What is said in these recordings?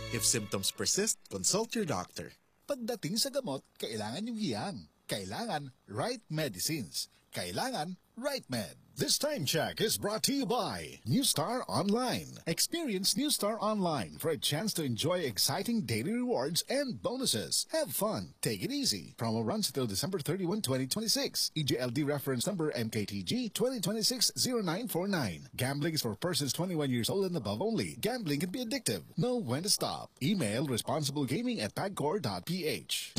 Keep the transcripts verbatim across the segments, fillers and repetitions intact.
If symptoms persist, consult your doctor. Pagdating sa gamot, kailangan yung hiyang. Kailangan right medicines. Kailangan right med. This time check is brought to you by New Star Online. Experience New Star Online for a chance to enjoy exciting daily rewards and bonuses. Have fun. Take it easy. Promo runs until December thirty-one, twenty twenty-six. E G L D reference number M K T G twenty twenty-six zero nine four nine. Gambling is for persons twenty-one years old and above only. Gambling can be addictive. Know when to stop. Email responsiblegaming at pagcor dot P H.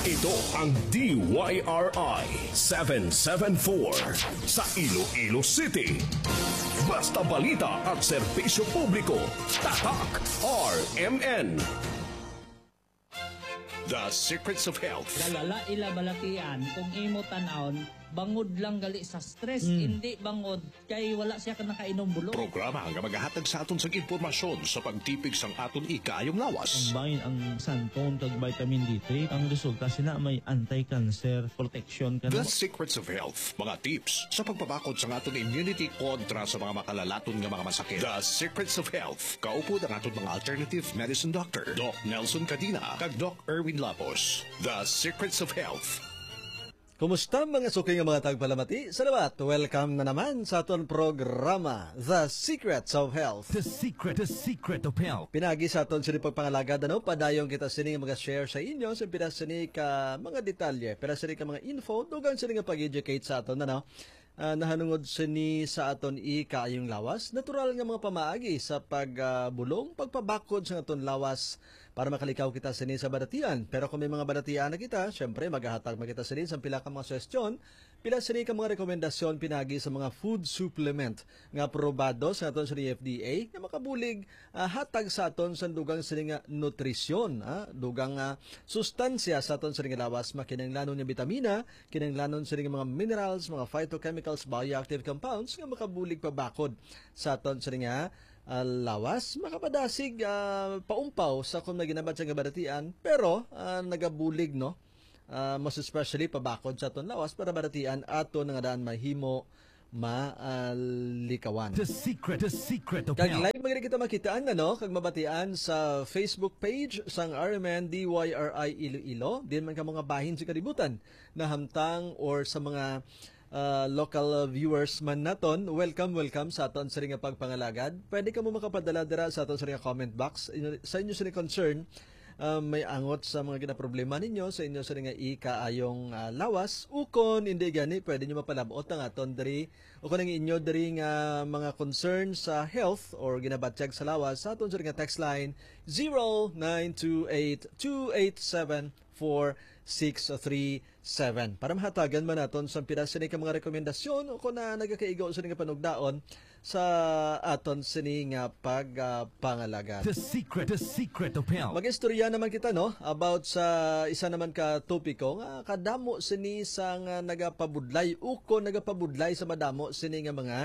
Ito ang D Y R I seven seven four sa Iloilo City. Basta balita at serbisyo publiko, Tatak R M N. The Secrets of Health. Galala ila balatian kung imo tan-awon, bangod lang gali sa stress, Mm. hindi bangod kay wala siya ka nakainom bulong. Programa nga magahatag sa aton sang impormasyon sa pagtipig sang aton ikaayong lawas. Combine ang xanthone kag vitamin D three. Ang resulta sina may anti-cancer protection ka The na. Secrets of Health, mga tips sa pagpabakod sang aton immunity kontra sa mga makalalaton nga mga masakit. The Secrets of Health, kaupod ang aton mga alternative medicine doctor, Doc Nelson Cadina kag Doc Erwin Lapos. The Secrets of Health. Kumusta, mga suki nga mga tagpalamati? Salamat. Welcome na naman sa aton programa, The Secrets of Health. The Secret, The Secret of Health. Pinagi sa aton sini pagpangalagad, ano, padayon kita sini nga mga share sa inyo sa pila sini ka mga detalye, pila sini ka mga info, dugang sini nga pag-educate sa aton, ano. Ah, nahanungod sini sa aton ikaayong lawas, natural nga mga pamaagi sa pagbulong, pagpabakod sa aton lawas para makalikaw kita sini sa balatian. Pero kung may mga balatian na kita, syempre, magahatag man kita sini sa pila ka mga suhestyon, pila sini ka mga rekomendasyon pinagi sa mga food supplement nga aprobado sa aton sa F D A nga makabulig, ah, hatag sa aton sa dugang sini nga nutrisyon, ah, dugang, ah, sustansya sa aton sini nga lawas, makinahanglanon nga bitamina, kinahanglanon sini nga mga minerals, mga phytochemicals, bioactive compounds nga makabulig pabakod sa aton sini nga, ah, lawas, makapadasig, ah, paumpaw sa kung may ginabat sa kabalatian, pero, ah, nagabulig, no? Ah, most especially pabakod sa aton lawas para balatian ato nga daan mahimo malikawan. The secret, the secret of Kag health. Live man gid kita makitaan, ano, kag mabatian sa Facebook page sang R M N D Y R I Iloilo. Din man ka mga bahin sa kalibutan na hamtang or sa mga, ah, local, ah, viewers man naton, welcome, welcome sa aton sini nga pagpangalagad. Pwede kamo makapadala dira sa aton sini nga comment box. Inyo, sa inyo sini concern, ah, may angot sa mga ginaproblema ninyo sa inyo sini nga ikaayong, ah, lawas, ukon hindi gani, pwede nyo mapalabot ang aton diri, ukon ang inyo diri nga mga concern sa health or ginabatyag sa lawas sa aton sini nga text line, zero nine two eight two eight seven four six three seven. Para mahatagan man naton sa pila sini ka mga rekomendasyon o kung na nagakaigo sini nga panugdaon sa aton sini nga pag, ah, pangalagad. The secret, the secret of health. Mag-istorya naman kita, no, about sa isa naman ka topiko nga kadamo sini sa nga nagapabudlay o kung nagapabudlay sa madamo sini nga mga,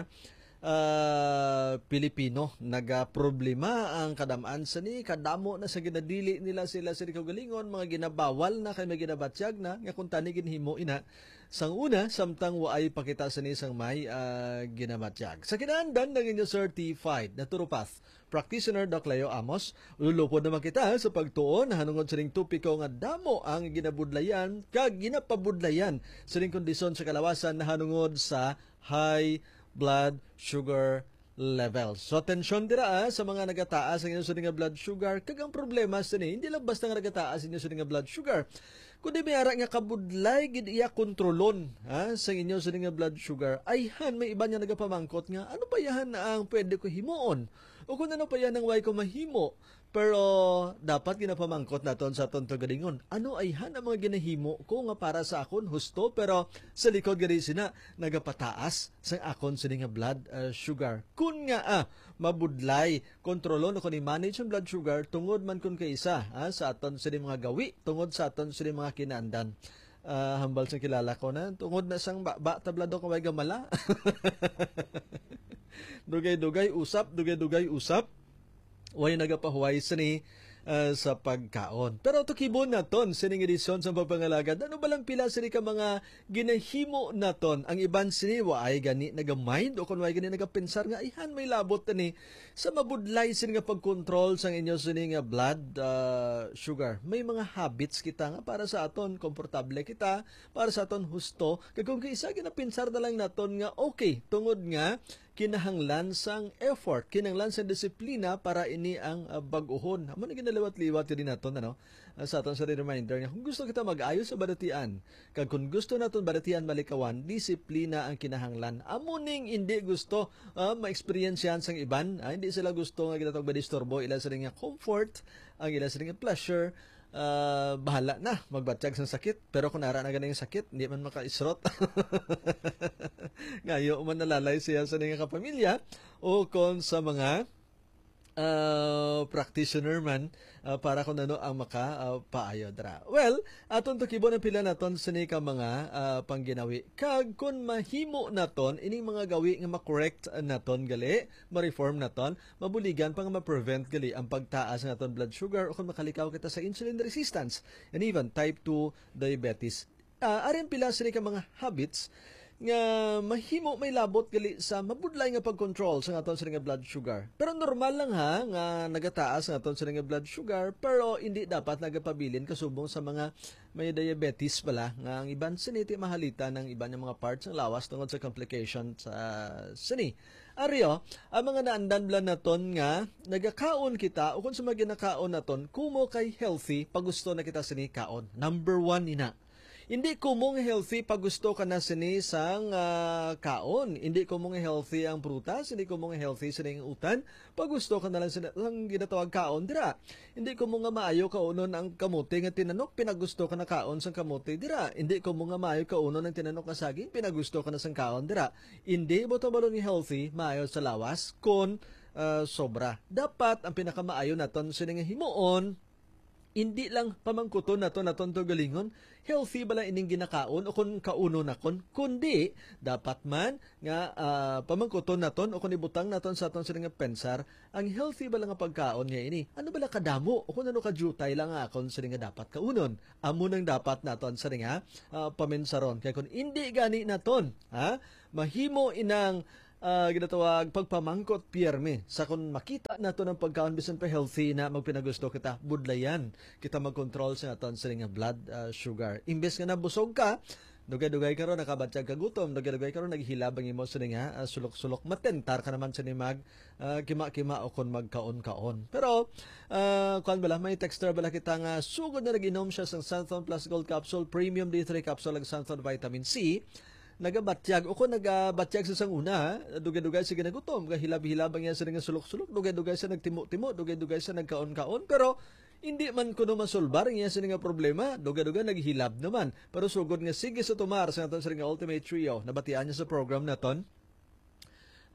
ah, Pilipino. Nagaproblema ang kadam-an sini, kadamo na sa ginadili nila sila sini kaugalingon, mga ginabawal na kay may ginabatyag na nga kung tani ginhimo ina sang una, samtang waay pa kita sini sang may, ah, ginabatyag. Sa kinaandan ng inyo certified naturopath practitioner, Doc Leo Amos, lulupod naman kita sa pagtuon nahanungod sining topiko nga damo ang ginabudlayan kag ginapabudlayan sining kondisyon sa kalawasan nahanungod sa high blood sugar level. So, atensyon dira, ah, sa mga nagataas ang inyo sini nga blood sugar. Kag ang problema sini, hindi lang basta nga nagataas inyo sini nga blood sugar, kundi may ara nga kabudlay gid iya kontrolon, ha, sa inyo sini nga blood sugar. Ayhan, may iban nga nagapamangkot nga, "Ano pa yahan ang pwede ko himuon? O kung ano pa yan ang way ko mahimo?" Pero dapat ginapamangkot naton sa aton kaugalingon, ano ayhan ang mga ginahimo ko nga para sa akon husto, pero sa likod gani sina nagapataas sang akon sini nga blood, ah, sugar? Kun nga, ah, mabudlay kontrolon o kun i-manage ang blood sugar tungod man kun kaisa, ah, sa aton sini mga gawi, tungod sa aton sini mga kinaandan. Ah, hambal sa kilala ko na, tungod na sang ba, ba tabla daw kaway gamala. Dugay-dugay usap, dugay-dugay usap. Way nagapahuway sini ah, sa pagkaon. Pero tukibon naton sining edisyon sa pagpangalagad. Ano ba lang pila sini ka mga ginahimo naton? Ang iban sini wa ay gani nagamind o kung wa ay gani nagapensar nga, "Ayhan, may labot ni sa mabudlay sini nga pagkontrol sang inyo sini nga blood, ah, sugar." May mga habits kita nga para sa aton, komportable kita, para sa aton husto. Kag kung kaisa, ginapensar na lang naton nga, okay, tungod nga kinahanglan sang effort, kinahanglan sang disiplina para ini ang, ah, bag-ohon. Amo na ginaliwat-liwat gid naton, ano? Ah, sa aton sa reminder nga kung gusto kita mag-ayo sa balatian, kag kung gusto naton balatian malikawan, disiplina ang kinahanglan. Amo ning hindi gusto, ah, ma-experience yan sang iban. Ah, hindi sila gusto nga ginatawag madisturbo ila sa nga comfort, ang ila sa nga pleasure. Ah, bahala na magbatyag sang sakit. Pero kung ara na ganing sakit, hindi man makaisrot. Ngayo man nalalay siya sa nga kapamilya o kon sa mga, ah, practitioner man, ah, para kung ano ang maka, ah, paayo dra. Well, aton tukibon ang pila naton sini ka mga, ah, pangginawi. Kag kung mahimo naton ining mga gawi nga ma-correct naton gali, ma-reform naton, mabuligan pa nga ma-prevent gali ang pagtaas nga aton blood sugar o kung makalikaw kita sa insulin resistance and even type two diabetes. Ah, ari ang pila sini ka mga habits nga mahimo may labot gali sa mabudlay nga pag-control sa aton sini nga blood sugar. Pero normal lang ha nga nagataas ang aton sini nga blood sugar, pero hindi dapat nagapabilin kasubong sa mga may diabetes pala nga ang iban sini ti mahalita ng iban nga mga parts ng lawas tungod sa complication sa sini. Ari, oh, ang mga naandan bala naton nga nagakaon kita o kung sa mga ginakaon naton, kumo kay healthy, pagusto na kita sini kaon. Number one ina. Hindi kumo nga healthy, pagusto ka na sini sang, ah, kaon. Hindi kumo nga healthy ang prutas, hindi kumo nga healthy sini ang utan, pagusto ka na lang sini ang ginatawag kaon dira. Hindi kumo nga maayo kaunon ang kamote nga tinanok, pinagusto ka na kaon sang kamote dira. Hindi kumo nga maayo kaunon ang tinanok nga saging, pinagusto ka na sang kaon dira. Hindi mo tabalon nga healthy, maayo sa lawas, kon, ah, sobra. Dapat ang pinakamaayo naton sini nga himuon, hindi lang pamangkuton naton, naton to galingon, healthy bala ining ginakaon o kon kaunon nakon, kundi dapat man nga, ah, pamangkuton naton o kon ibutang naton sa aton sini nga pensar, ang healthy bala nga pagkaon nga ini? Ano bala kadamo o kon ano kadiyutay lang nga akon sini nga dapat kaunon? Amo nang dapat naton sini nga, ah, paminsaron. Kay kon indi gani naton, ha, mahimo inang, ah, ginatawag pagpamangkot piyerme. Sa kon makita naton ang pagkaon, bisan pa healthy na, magpinagusto kita, budlayan kita mag-control sa aton sini nga blood, ah, sugar. Imbes nga nabusog ka, dugay-dugay karon nakabatyag ka gutom, dugay-dugay karon naghilab ang imo sini nga, ah, sulok-sulok, matentar ka naman sini mag, ah, kima-kima o kon magkaon-kaon. Pero, ah, kuwan bala, may texter bala kita nga sugod na nag-inom siya sang Santhon Plus Gold Capsule, Premium D three Capsule, ag Santhon Vitamin C, nagabatyag o kon nagabatyag sa sang una, ha? Dugay-dugay siya ginagutom, gahilab-hilab ang iya sini nga sulok-sulok, dugay-dugay siya nagtimo-timo, dugay-dugay siya nagkaon-kaon, pero hindi man kuno masulbar ang iya sini nga problema, dugay-dugay naghilab naman. Pero sugod nga sige sa tumar sa aton sini nga Ultimate Trio, nabatian niya sa program naton,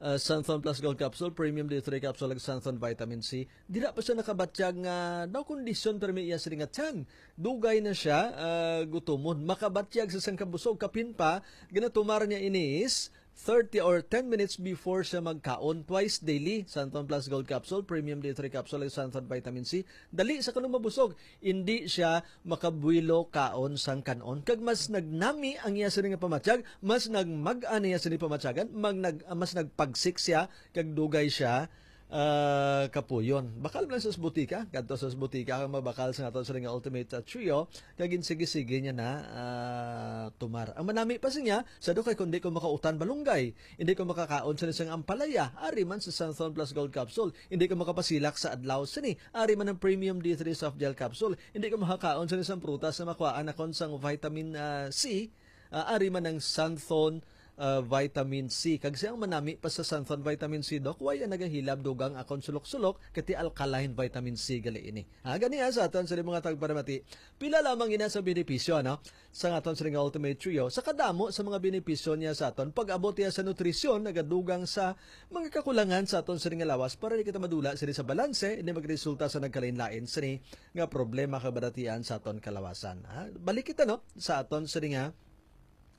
ah, Santhon Plus Gold Capsule, Premium D three Capsule, ag Santhon Vitamin C. Dira pa siya nakabatyag nga daw kondisyon permi iya sini nga tiyan. Dugay na siya, ah, gutumon. Makabatyag sa sang kabusog, kapin pa, ginatumar niya ini is thirty or ten minutes before siya magkaon. Twice daily, Santhon Plus Gold Capsule, Premium D three Capsule, ag Santhon Vitamin C. Dali sa kanang mabusog, indi siya makabuwelo kaon sang kan-on. Kag mas nagnami ang iya sini nga pamatyag, mas nagmag-an iya sini pamatyagan, mag-, nag-, mas nagpagsik siya, kag dugay siya, ah, kapuyon. Bakal man sa butika, kadto sa butika, ang mabakal sa aton sini nga Ultimate, ah, Trio, kag ginsigi-sige niya na, ah, tumar. Ang manami pa siya, sa dugay, kundi ko makautan balunggay, hindi ko makakaon sa isang ampalaya, ari man sa Santhon Plus Gold Capsule, hindi ko makapasilak sa adlaw sini, ari man ang Premium D three Soft Gel Capsule, hindi ko makakaon sa isang prutas na makuhaan akon sang vitamin, ah, C, ah, ari man ang Santhon, ah, Vitamin C. Kag siyang manami pa sa Santhon Vitamin C, Doc, why ang nagahilab dugang akon sulok-sulok, kay ti alkaline vitamin C gali ini. Ha, gani, ha, sa aton sa mga tagparamati, pila lamang ina sa benepisyo, ano? Sa aton sa nga Ultimate Trio, sa kadamo sa mga benepisyo niya sa aton, pag-abot niya sa nutrisyon, nagadugang sa mga kakulangan sa aton sa nga lawas para di kita madula sini sa balanse, hindi magresulta sa nagkalain-lain sini nga problema kag balatian sa aton kalawasan. Ha? Balik kita, no, sa aton sini nga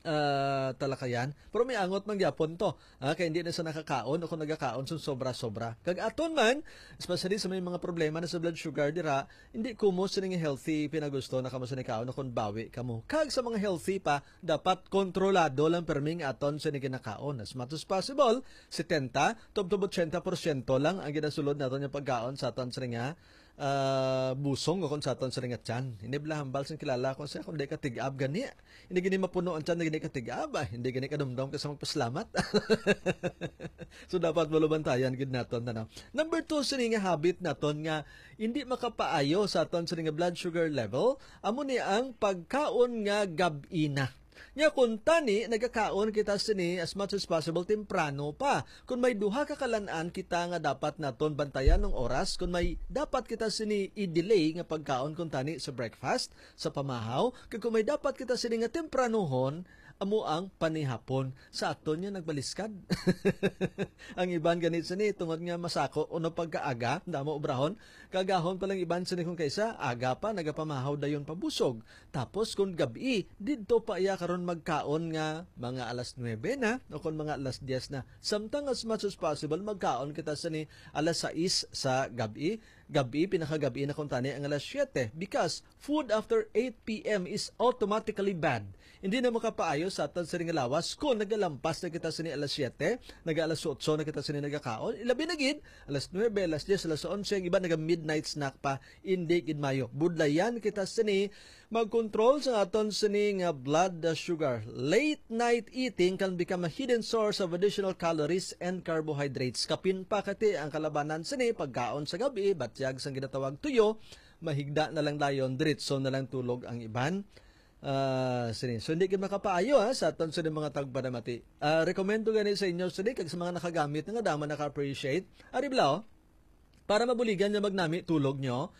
ah, talakayan. Pero may angot man gyapon to. Ah, kay hindi na sa nakakaon o kung nagakaon sa sobra-sobra. Kag aton man, especially sa may mga problema na sa blood sugar dira, hindi kumo sini nga healthy pinagusto na kamo sa nikaon o kung bawi kamo. Kag sa mga healthy pa, dapat kontrolado lang perming aton sa ginakaon. As much as possible, setenta, tubtob ochenta porsyento lang ang ginasulod naton nga pagkaon sa aton sa nga ah, busong o kung sa aton sa nga tiyan. Hindi bala hambal sing kilala ko siya kung di ka tig-ab gani. Hindi gini mapuno ang tiyan na gini ka tig-ab. Ah, hindi gini kadumdom ka sa magpasalamat. So, dapat malubantayan gid naton, ano? Number two, sini nga habit naton nga hindi makapaayo sa aton sini nga blood sugar level, amo ni ang pagkaon nga gab-i na. Nya, kung tani, nagakaon kita sini as much as possible temprano pa. Kung may duha ka kalan-an kita nga dapat naton bantayan ng oras, kung may dapat kita sini i-delay nga pagkaon kung tani sa breakfast, sa pamahaw, kag kung may dapat kita sini nga tempranohon, amo ang panihapon. Sa aton niya nagbaliskad. Ang iban gani sini tungod nga masako o pagkaaga, damo obrahon, kagahon pa lang iban sini kung kaisa, aga pa, nagapamahaw dayon pabusog. Tapos kung gabi, didto pa iya karon magkaon nga mga alas nuebe na o kung mga alas diyes na. Samtang as much as possible, magkaon kita sini alas sais sa gabi. Gabi, pinakagabi na kung tani ang alas siyete. Because food after eight p m is automatically bad. Hindi na makapaayo sa aton sini nga lawas kung nagalampas na kita sini alas siyete, naga alas otso na kita sini nagakaon. Ilabi na gid, alas nuebe, alas diyes, alas onse, ang iba naga midnight snack pa. Hindi gid maayo. Budlayan kita sini magkontrol sa aton sini nga blood sugar. Late night eating can become a hidden source of additional calories and carbohydrates. Kapin pa kati ang kalabanan sini pagkaon sa gabi, batyag sang ginatawag tuyo, mahigda na lang dayon, diretso na lang tulog ang iban. Ah, sini. So, hindi gid makapaayo, ha, sa aton sini mga tagpanamati. Ah, rekomendo gani sa inyo sini kag sa mga nakagamit nga dama naka-appreciate. Ari bala, oh. Para mabuligan nga magnami tulog nyo,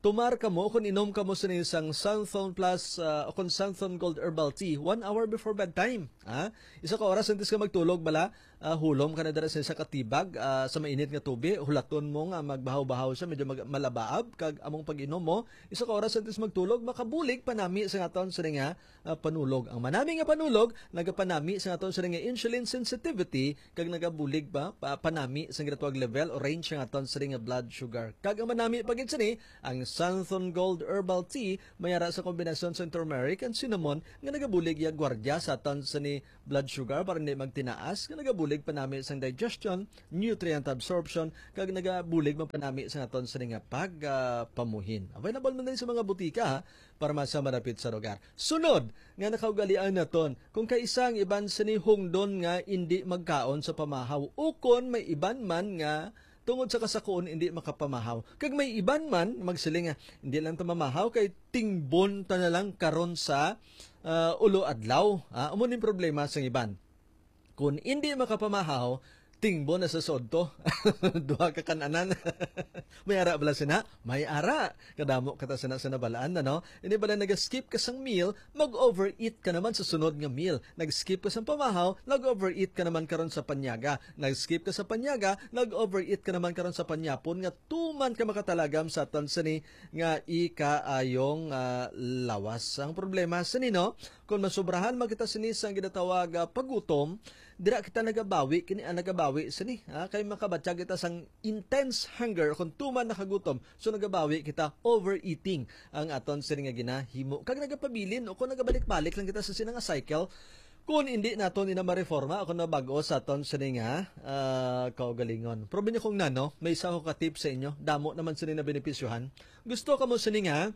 tumar kamo kung inom kamo sini sang Santhon Plus, ah, o kung Santhon Gold Herbal Tea one hour before bedtime. Ha? Isa ka oras antes ka magtulog bala, ah, hulom ka na dira sa isa ka tibag, ah, sa mainit nga tubig, hulaton mo nga magbahaw-bahaw siya, medyo mag-, malabaab, kag among pag-inom mo, isa ka oras antes magtulog, makabulig panami sa aton sini nga ah, panulog. Ang manami nga panulog nagapanami sa aton sini nga insulin sensitivity kag nagabulig pa, pa panami sa ginatawag level o range sa aton sini nga blood sugar. Kag ang manami pa gid sini, ang Santhon Gold Herbal Tea may ara sa kombinasyon sa turmeric and cinnamon nga nagabulig iya gwardiya sa aton sini blood sugar para hindi magtinaas, nga nagabulig panami sang digestion, nutrient absorption, kag nagabulig man panami sa aton sini nga pag, ah, pamuhin. Available man din sa mga butika, ha? Para mas malapit sa lugar. Sunod nga nakaugalian naton, kung kaisa ang iban sini hungdon nga indi magkaon sa pamahaw, ukon may iban man nga tungod sa kasakuon indi makapamahaw. Kag may iban man magsiling nga hindi lang ta mamahaw kay tingbon ta na lang karon sa, ah, ulo adlaw. Ah, amo ning problema sang iban. Kung hindi makapamahaw, tingbon na sa sodto. Duha ka kan-anan. May ara bala sina? May ara. Kadamo kita sina sa nabalaan na, no? Ini bala nag-skip ka sang meal, mag-overeat ka naman sa sunod nga meal. Nag-skip ka sang pamahaw, nag-overeat ka naman karon sa panyaga. Nag-skip ka sa panyaga, nag-overeat ka naman karon sa panyapon nga tuman ka makatalagam sa aton sini nga ikaayong, ah, lawas. Ang problema sini, no? Kung masobrahan man kita sini sang ginatawag, ah, pagutom, dira kita nagabawi, kini ang nagabawi sini, ha? Kay makabatyag kita sang intense hunger kung tuman nakagutom. So, nagabawi kita, overeating ang aton sini nga ginahimo. Kag nagapabilin o kung nagabalik-balik lang kita sa sini nga cycle, kung hindi naton ina mareforma o kung nabag-o sa aton sini nga, ah, kaugalingon. Pero binya kung nano, may isa ko ka tip sa inyo. Damo naman sini na benepisyohan. Gusto kamo sini nga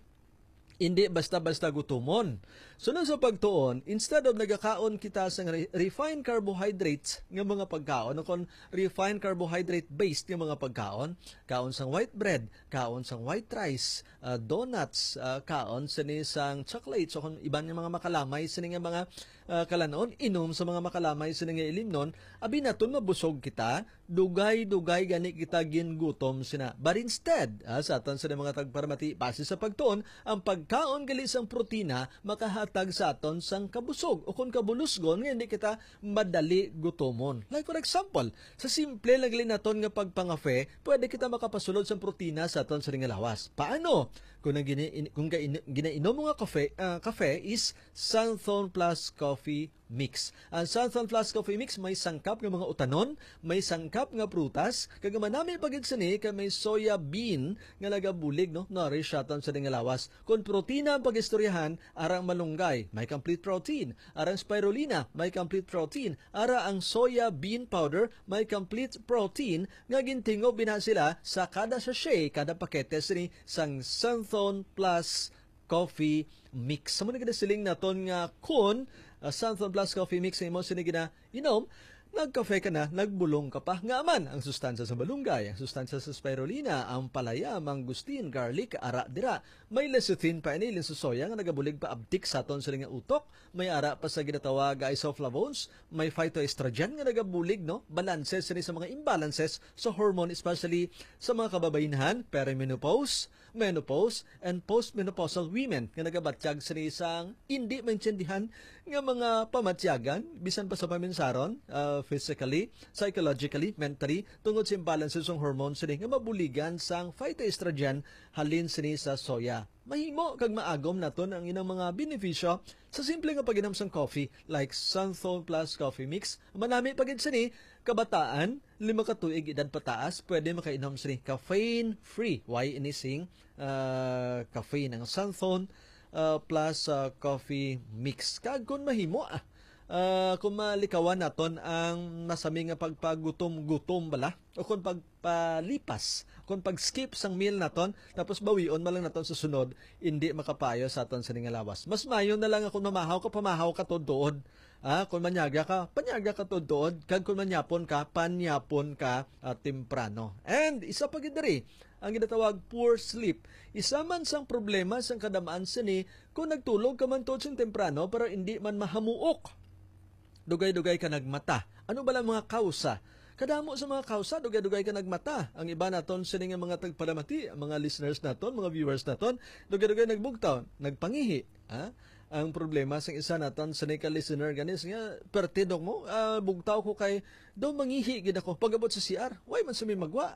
hindi basta-basta gutumon. Sunod sa pagtuon, instead of nagakaon kita sa re-, refined carbohydrates nga mga pagkaon, o kon refined carbohydrate-based nga mga pagkaon, kaon sang white bread, kaon sang white rice, ah, donuts, ah, kaon sini sang chocolates, o kon iban nga mga makalamay sini nga mga, ah, kalanon, inom sa mga makalamay sini nga ilimnon, abi naton mabusog kita, dugay-dugay gani kita gingutom sina. But instead, ah, sa aton sini mga tagparamati, base sa pagtuon, ang pagkaon gali sang protina makahatag sa aton sang kabusog o kon kabulusgon nga hindi kita madali gutomon. Like for example, sa simple lang gali naton nga pagpangafe, pwede kita makapasulod sang protina sa aton sini nga lawas. Paano? Kung ang gini-, in-, kung gain-, ginainom mo nga kafe, ah, kafe is Santhon plus Coffee Mix. Ang Santhon Plus Coffee Mix may sangkap nga mga utanon, may sangkap nga prutas, kag manami pa gid sini kay may soya bean nga nagabulig, no, nourish sa aton sa nga lawas. Kung protina ang pag-istoryahan, arang malunggay, may complete protein. Arang spirulina, may complete protein. Ara ang soya bean powder, may complete protein nga gintingob bina sila sa kada sachet, kada pakete sini sang Santhon Plus Coffee Mix. Sa muna gid siling naton nga kun, ah, Santhon Plus Coffee Mix ang imo sini gina inom, nagkafe ka na, nagbulong ka pa. Nga man, ang sustansya sa malunggay, ang sustansya sa spirulina, ang palaya, mangustin, garlic, ara dira. May lecithin pa ini, linsusoya nga nagabulig pa abtik sa aton sini nga utok. May ara pa sa ginatawag nga isoflavones, may phytoestrogen nga nagabulig, no? Balanse sini sa mga imbalances sa hormone, especially sa mga kababaynhan, perimenopause, menopause, and postmenopausal women nga nagabatyag sini sang hindi maintindihan nga mga pamatyagan, bisan pa sa paminsaron, ah, physically, psychologically, mentally, tungod sa imbalances sang hormone sini nga mabuligan sang phytoestrogen halin sini sa soya. Mahimo kag maagom naton ang inang mga benepisyo sa simple nga pag-inom sang coffee, like Santhon Plus Coffee Mix. Manami pa gid sini, kabataan, lima ka tuig edad pataas, pwede makainom sini caffeine free. Why ini sing, ah, caffeine ang Santhon, ah, Plus, ah, Coffee Mix? Kag kung mahimo, ah, ah, kung malikawan naton ang masami nga pagpagutom-gutom bala, o kung pagpalipas, kung pag-skip sang meal naton, tapos bawion man lang naton sa sunod, hindi makapayo sa aton sini nga lawas. Mas mayo na lang nga kung mamahaw ka, pamahaw ka tuod-tuod. Ah, kung manyaga ka, panyaga ka tuod-tuod, kag kung manyapon ka, panyapon ka, ah, temprano. And isa pa gid diri, ang ginatawag poor sleep. Isa man sang problema sang kadamaan sini kung nagtulog ka man tuod sing temprano pero hindi man mahamuok. Dugay-dugay ka nagmata. Ano bala ang mga kausa? Kadamo sa mga kausa, dugay-dugay ka nagmata. Ang iba naton sini nga mga tagpalamati, ang mga listeners naton, mga viewers naton, dugay-dugay nagbugtaw, nagpangihi. Ha? Ang problema sang isa naton sini ka listener gani nga, "Perti, Dok, mo, ah, bugtaw ko kay daw mangihi gid ako pag-abot sa C R. Why man sa may magwa?"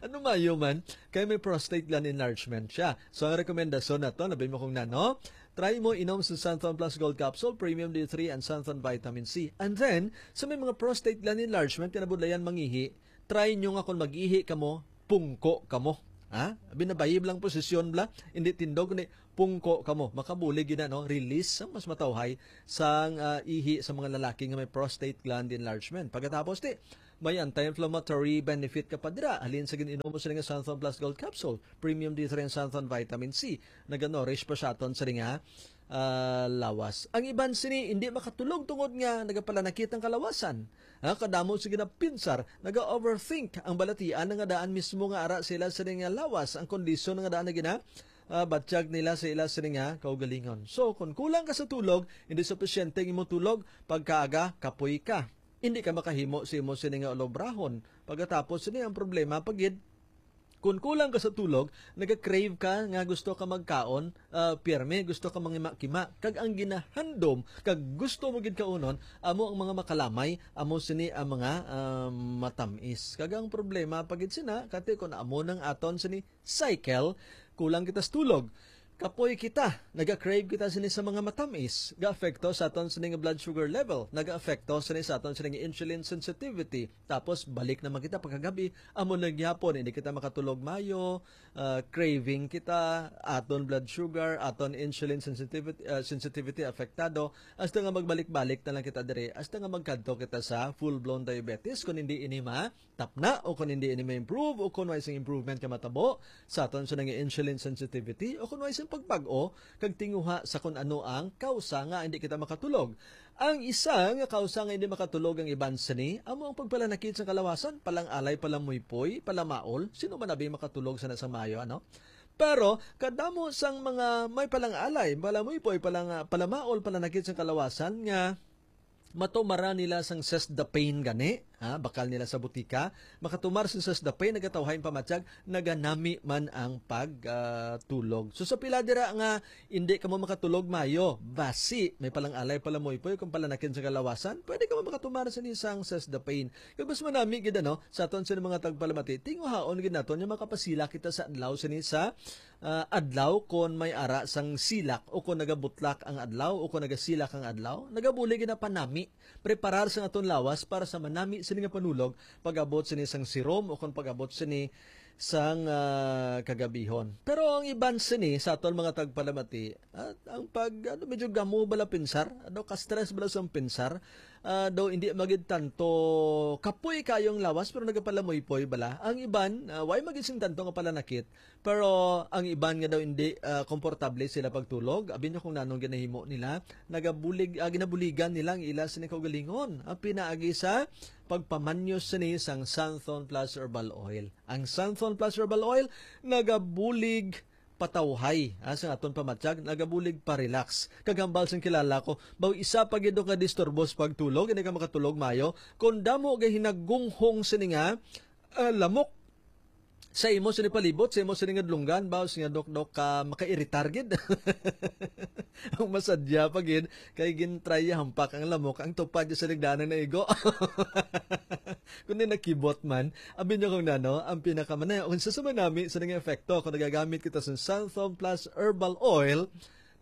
Ano mayo man? Kay may prostate gland enlargement siya. So, ang rekomendasyon nato, labi mo kung nano, try mo inom sa Santhon Plus Gold Capsule, Premium D three, and Santhon Vitamin C. And then, sa may mga prostate gland enlargement, kinabudlayan mangihi, try nyo nga kung mag-ihi kamo, pungko kamo. Ha? Binabayib lang posisyon bla, hindi tindog, kundi pungko kamo. Makabulig yun na, no? Release ang mas matawhay sang, ah, ihi sa mga lalaki nga may prostate gland enlargement. Pagkatapos, ti, may anti-inflammatory benefit ka pa dira. Halin sa gin-inom mo sini nga Santhon Plus Gold Capsule, Premium D three and Santhon Vitamin C. Naga-nourish pa siya aton sini nga, ah, lawas. Ang iban sini hindi makatulog tungod nga nagapalanakit ang kalawasan. Ha, kadamo sa ginapinsar, naga-overthink ang balatian nga daan mismo nga ara sila sini nga lawas, ang kondisyon nga daan na gina, ah, batyag nila sa ila sini nga kaugalingon. So, kung kulang ka sa tulog, hindi supisyente ang imong tulog, pagkaaga, kapoy ka. Hindi ka makahimo sa imo sini nga ulobrahon. Pagkatapos sini ang problema pa gid, kung kulang ka sa tulog, naga-crave ka nga gusto ka magkaon, ah, pirme, gusto ka mangima-kima. Kag ang ginahandom, kag gusto mo gid kaunon, amo ang mga makalamay, amo sini ang mga, ah, matamis. Kag ang problema pa gid sina, kati kung amo nang aton sini cycle, kulang kita sa tulog. Kapoy kita, naga-crave kita sini sa mga matamis, ga-apekto sa aton sini nga blood sugar level, naga-apekto sini sa aton sini nga insulin sensitivity, tapos balik naman kita pagkagabi, amo na gyapon, hindi kita makatulog mayo, ah, craving kita, aton blood sugar, aton insulin sensitivity, ah, sensitivity apektado, hasta nga magbalik-balik na lang kita diri, hasta nga magkadto kita sa full-blown diabetes, kung hindi ini ma tapna, o kung hindi ini ma-improve, o kung may isang improvement ka matabo sa aton sa nga insulin sensitivity, o kung may isang pagbag-o kag tinguha sa kung ano ang kausa nga hindi kita makatulog. Ang isa nga kausa nga hindi makatulog ang iban sini, amo ang pagpalanakit sa kalawasan, palang-alay, palamuypoy, palamaol. Sino man abi makatulog sa nasa mayo, ano? Pero kadamo sang mga may palang-alay, palamuypoy, palang, palamaol, palanakit sa kalawasan nga matumara nila sang seize the pain gani. Ha, bakal nila sa butika, makatumar sini sa Sesdapain, nagatawhay ang pamatyag, naganami man ang pag, ah, tulog. So, sa pila dira nga hindi kamo makatulog maayo, basi may palang-alay, palamuypoy, kung palanakin sa kalawasan, pwede kamo makatumar sini sang Sesdapain. Kag mas manami gid, ano, sa aton sini mga tagpalamati, tinguhaon gid naton nga makapasila kita sa adlaw sini sa, ah, adlaw kon may ara sang silak o kon nagabutlak ang adlaw o kon nagasilak ang adlaw, nagabulig gid na panami preparar sang aton lawas para sa manami sini nga panulog pag-abot sini sang sirom o kon pag-abot sini sang, ah, kagabihon. Pero ang iban sini sa aton mga tagpalamati, ah, ang pag, ano, medyo gamo bala pinsar, ano, ka-stress bala sang pinsar, ah, daw hindi magid tanto kapoy kayong lawas pero nagapalamuypoy bala. Ang iban, ah, way magid sing tanto nga palanakit, pero ang iban nga daw hindi, ah, komportable sila pagtulog. Abi niyo kung nanong ginahimo nila, nagabulig, ah, ginabuligan nila ang ila sini kaugalingon. Ang pinaagi sa pagpamanyos sini sang Santhon Plus Herbal Oil. Ang Santhon Plus Herbal Oil nagabulig patawhay, ah, sa aton pamatyag, nagabulig pa-relax. Kag hambal sing kilala ko, baw isa pa gid ka disturbo sa pagtulog, hindi ka makatulog maayo. Kung damo gay hinagunghong sini nga, ah, lamok sa imo sini palibot, sa imo sini nga dulonggan, baw sini nga dok-dok ka makairitar gid. Ang masadya pa gid, kay gintry hampak ang lamok, ang tupad sa ligdaan naigo. Kundi nakibot man, abi niyo kung nano, ang pinakamanay, unsa sa manami sa nga epekto kung nagagamit kita sa Santhon Plus Herbal Oil,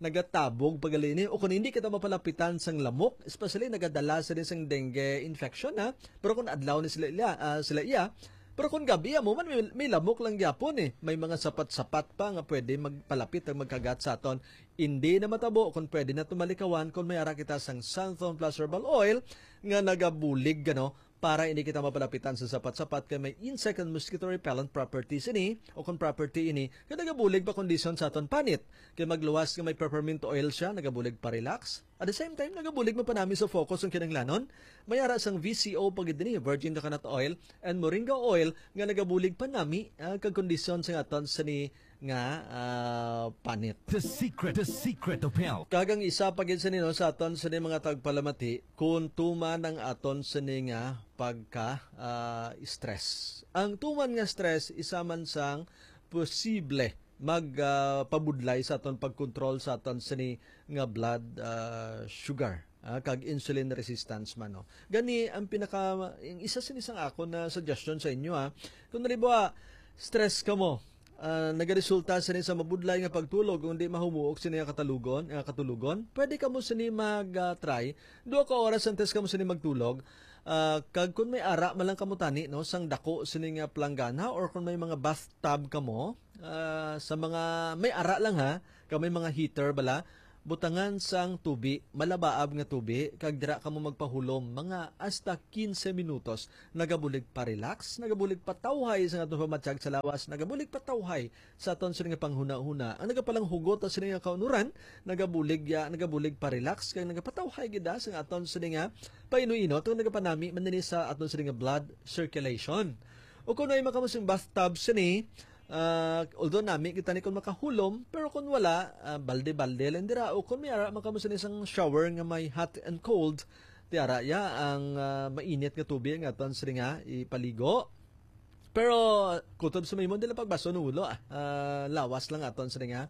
nagatabog pagali ni, o kung hindi kita mapalapitan sang lamok, especially nagadala sila sang dengue infection, ha. Pero kung adlaw ni sila iya, ah, sila iya, pero kung gabi mo man, may, may lamok lang gyapon eh. May mga sapat-sapat pa nga pwede magpalapit ang magkagat sa aton. Hindi na matabo kung pwede na tumalikawan kung may ara kita sang Santhon Plus Herbal Oil nga nagabulig, ano, para hindi kita mapalapitan sa sapat-sapat kay may insect and mosquito repellent properties ini o kung property ini kay nagabulig pa kondisyon sa aton panit. Kay magluwas nga may peppermint oil siya, nagabulig pa-relax. At the same time, nagabulig man panami sa focus ang kinahanglanon. May ara sang V C O pa gid ini, virgin coconut oil and moringa oil nga nagabulig panami, ah, kag kondisyon sa aton sini nga, ah, panit. The secret, the secret of health. Kag ang isa pa gid sini, no, sa aton sini mga tagpalamati, kung tuman ang aton sini nga pagka, ah, stress. Ang tuman nga stress, isa man sang posible mag, ah, pabudlay sa aton pagkontrol sa aton sini nga blood, ah, sugar, ah, kag insulin resistance man, no. Gani ang pinaka, ang isa sini sang akon na suggestion sa inyo, ah. Kung halimbawa, stress kamo, ah, nagaresulta sini sa mabudlay nga pagtulog, kung di mahumuok sini nga katalugon, nga katulogon, pwede kamo sini mag, ah, try. Duha ka oras antes kamo sini magtulog. Ah, kag kung may ara man lang kamo tani, no, sang dako sini nga planggana or kung may mga bathtub kamo, ah, sa mga may ara lang ha, kag may mga heater bala, butangan sang tubi, malabaab nga tubi, kag dira kamo magpahulom mga hasta quince minutos. Nagabulig pa-relax, nagabulig patawhay sa atong pamatyag sa lawas, nagabulig patawhay sa aton sini nga panghunahuna. Ang nagapalanghugot sa sini nga kaunuran, nagabulig ya, nagabulig pa-relax, kag nagapatawhay gid sa aton sini nga paino-ino, tong nagapanami man nini sa aton sini nga blood circulation. O kung may makamusing bathtub sini, ah, although nami kita ni kung makahulom, pero kung wala, ah, balde-balde lang dira. O kung may ara man kamo sini sang shower nga may hot and cold, ti ara ya ang, ah, mainit nga tubig nga aton sini nga ipaligo. Pero kutob sa may imong dili pagbason ang ulo, ah. Ah, lawas lang aton sini nga,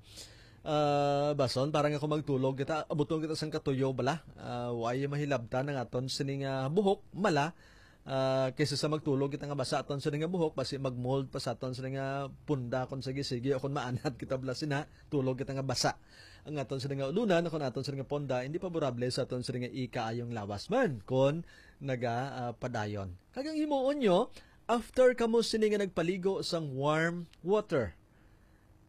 ah, bason para nga kung magtulog kita, abuton kita sang katuyo bala. Ah, way mahilabtan ang aton sini nga buhok, mala. Ah, kaysa sa magtulog kita nga basa aton sini nga buhok, basi mag-mold pa sa aton sini nga punda kung sige-sige, o kung maanad kita bala sina, tulog kita nga basa. Ang aton sini nga ulunan, kung aton sini nga punda, hindi paborable sa aton sini nga ikaayong lawas man kung naga, ah, padayon. Kag ang himuon nyo, after kamo sini nga nagpaligo sang warm water,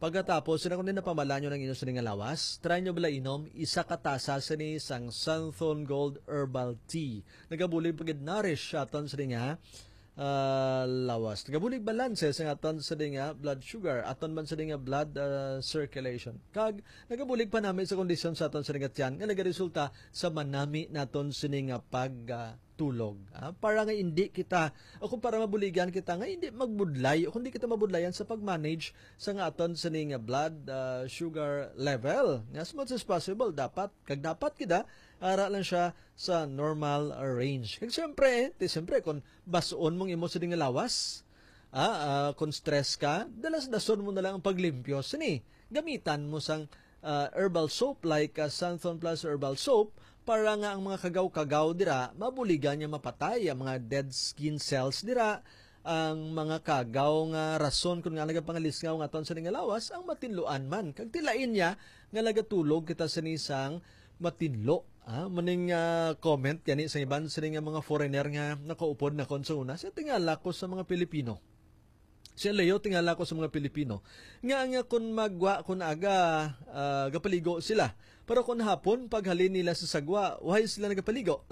pagkatapos, sina kundi napamalanyo ng inyo sini nga lawas, try nyo bala inom isa ka tasa sini sang Santhon Gold Herbal Tea. Nagabulig pagid nourish sa aton sini nga, ah, lawas. Nagabulig balanse sa aton sini nga blood sugar, aton man sini nga blood, ah, circulation. Kag nagabulig panami sa kondisyon sa aton sini nga tiyan nga nagaresulta sa manami naton sini nga pag, ah, tulog, ah, para nga hindi kita, o kung para mabuligan kita nga hindi magbudlay, o kung di kita mabudlayan sa pag-manage sa nga aton sini nga blood, ah, sugar level. Nga as much as possible, dapat, kag dapat kita, Ara lang siya sa normal range. Kag siyempre, ti siyempre, kung bas-on mong imo sini nga lawas, ah, ah, kung stress ka, dalas-dason mo na lang ang paglimpyo sini. Gamitan mo sang, ah, herbal soap like, ah, Santhon Plus Herbal Soap para nga ang mga kagaw-kagaw dira mabuligan nga mapatay ang mga dead skin cells dira, ang mga kagaw nga rason kun nga nagapangalisngaw nga aton sini nga lawas ang matinluan man. Kag tilain niya nga nagatulog kita sini sang matinlo. Ah, muning, ah, comment gani sa iban sini nga mga foreigner nga nakaupod na kon sa una. Siya tingala ko sa mga Pilipino. Siya, Leo, tingala ko sa mga Pilipino. Nga, nga kun magwa, kun aga, ah, gapaligo sila. Pero kun hapon, paghalin nila sa sagwa, why sila nagapaligo?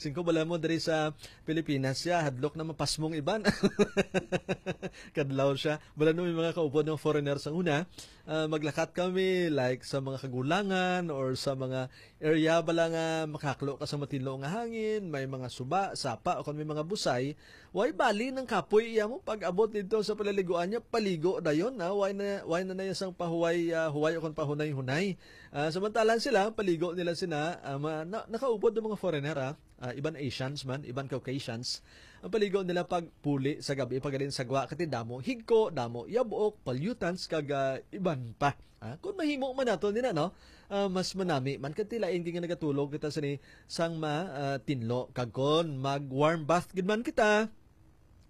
Singko bala mo diri sa Pilipinas siya, hadlok na mapasmong iban. Kadlaw siya. Bala no, may mga kaupod ng foreigner sa una, ah, maglakat kami, like, sa mga kagulangan or sa mga area bala nga makaklo ka sa matinlo nga hangin, may mga suba, sapa, o kung may mga busay, way bali ng kapoy iya mo pag-abot dito sa palaliguan niya, paligo dayon, ha? Way na, way na na iya sang pahuway, ah, huway o kung pahunay-hunay. Ah, samantalan sila, paligo nila sina, ah, ma-, na, nakaupod ng mga foreigner, ah. Ah, iban Asians man, iban Caucasians. Ang paligo nila pag puli sa gabi, pag alin sa gwa, kati damo, higko, damo, yabok, pollutants, kag, ah, iban pa. Ah, kung mahimo man nato nila, no? Ah, mas manami man, kag tilain gid nga nagatulog kita sini sang ma, ah, tinlo. Kag kon mag warm bath gid man kita,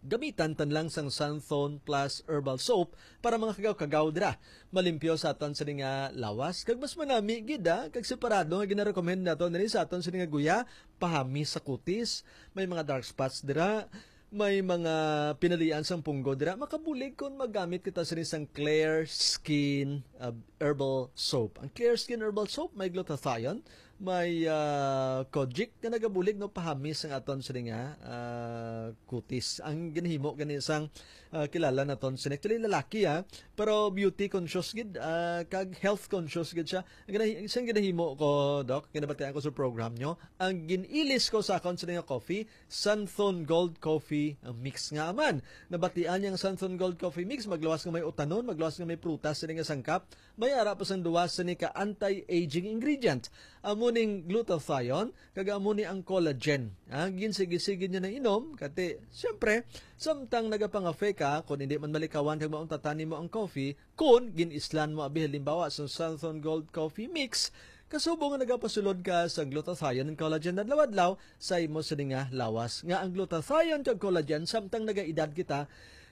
gamitan tan lang sang Santhon Plus Herbal Soap para mga kagaw-kagaw dira. Malimpyo sa aton sini nga lawas, kag mas manami gid, ah, kag separado nga ginarekomend nato nini sa aton sini nga guya, pahami sa kutis, may mga dark spots dira, may mga pinalian sang punggo dira, makabulig kon magamit kita sini sang Clear Skin, ah, Herbal Soap. Ang Clear Skin Herbal Soap may glutathione, may, ah, kojic nga nagabulig, no, pahamis ang aton sini nga, ah, kutis. Ang ginahimo gani sang, ah, kilala naton sini, actually lalaki, ah, pero beauty conscious gid, ah, kag health conscious gid siya. Ang ginahi-, isang ginahimo ko, Doc, kinabatian ko sa program nyo, ang gin-ilis ko sa akon sini nga coffee, Santhon Gold Coffee Mix nga man. Nabatian niya ang Santhon Gold Coffee Mix, magluwas nga may utanon, magluwas nga may prutas sini nga sangkap, may ara pa sang duwa sini ka anti-aging ingredient. Amo ning glutathione, kag amo ni ang collagen. Ah, ginsigi-sigi niya na inom, kati, siyempre, samtang nagapangafek ka, kung hindi man malikawan kag mauntatan nimo ang coffee, kung gin-islan mo abi halimbawa sa Santhon Gold Coffee Mix, kasubo nga nagapasulod ka sa glutathione and collagen adlaw-adlaw sa imo sini nga lawas, nga ang glutathione kag collagen samtang nagaedad kita,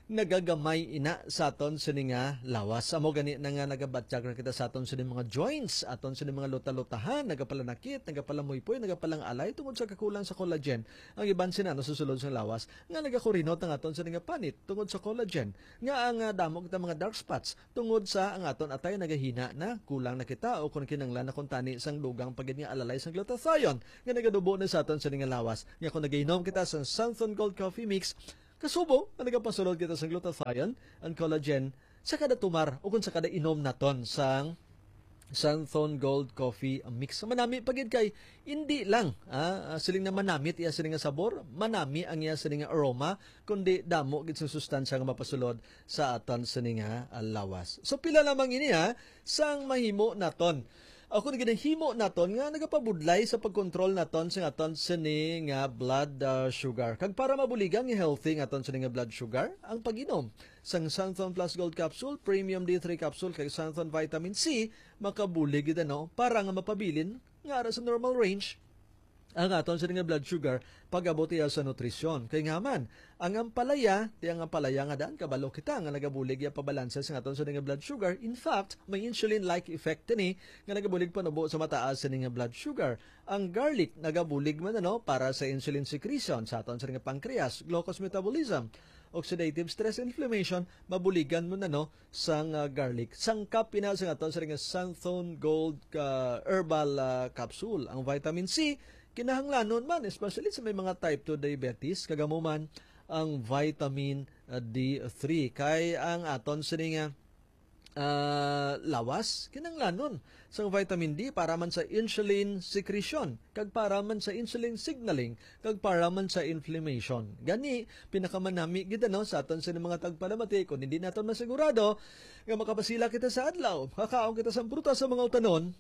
nagagamay ina sa aton sini nga lawas. Amo gani na nga nagabatyag na kita sa aton sini mga joints, aton sini mga luta-lutahan, nagapalanakit, nagapalamuypoy, nagapalang-alay tungod sa kakulang sa collagen. Ang iban sina nasusulod sa lawas nga nagakurinot ang aton sini nga panit tungod sa collagen. Nga ang, ah, damo kita mga dark spots tungod sa ang aton atay nagahina na, kulang na kita, o kon kinanglan na kuntani sang dugang pa gid nga alalay sang glutathione nga nagadubo na sa aton sini nga lawas. Nga kon nagainom kita sang Santhon Gold Coffee Mix, kasubo nga nagapasulod kita sang glutathione and collagen sa kada tumar o kon sa kada inom naton sang Santhon Gold Coffee Mix. Manami pa gid kay hindi lang, ah, ah, siling na manamit iya sini nga sabor, manami ang iya sini nga aroma, kundi damo gid sang sustansya nga mapasulod sa aton sini nga, ah, lawas. So, pila lamang ini, ha, sang mahimo naton. Ako na ginahimo naton nga nagapabudlay sa pagkontrol naton sa aton sini nga blood, ah, sugar. Kag para mabuligan nga healthy nga aton sini nga blood sugar, ang pag-inom sang Santhon Plus Gold Capsule, Premium D three Capsule, kag Santhon Vitamin C, makabulig gid, ano, para nga mapabilin nga ara sa normal range ang aton sini nga blood sugar pag-abot iya sa nutrisyon. Kay nga man, ang ampalaya, ti ang ampalaya nga daan, kabalo kita nga nagabulig iya pabalanse sa aton sini nga blood sugar. In fact, may insulin-like effect ini nga nagabulig panubo sa mataas sini nga blood sugar. Ang garlic nagabulig man, ano, para sa insulin secretion sa aton sini nga pancreas, glucose metabolism, oxidative stress, inflammation, mabuligan mo na, no, sang, ah, garlic. Sangkap ina sa aton sini nga Santhon Gold, ah, herbal, ah, capsule. Ang vitamin C, kinahanglanon man, especially sa may mga type two diabetes, kag amo man ang vitamin, ah, D three. Kay ang aton sini nga, ah, lawas, kinahanglanon sang vitamin D para man sa insulin secretion, kag para man sa insulin signaling, kag para man sa inflammation. Gani, pinakamanami gid, ano, sa aton sini mga tagpalamati, kung hindi naton masigurado nga makapasila kita sa adlaw, makakaon kita sa prutas sa mga utanon,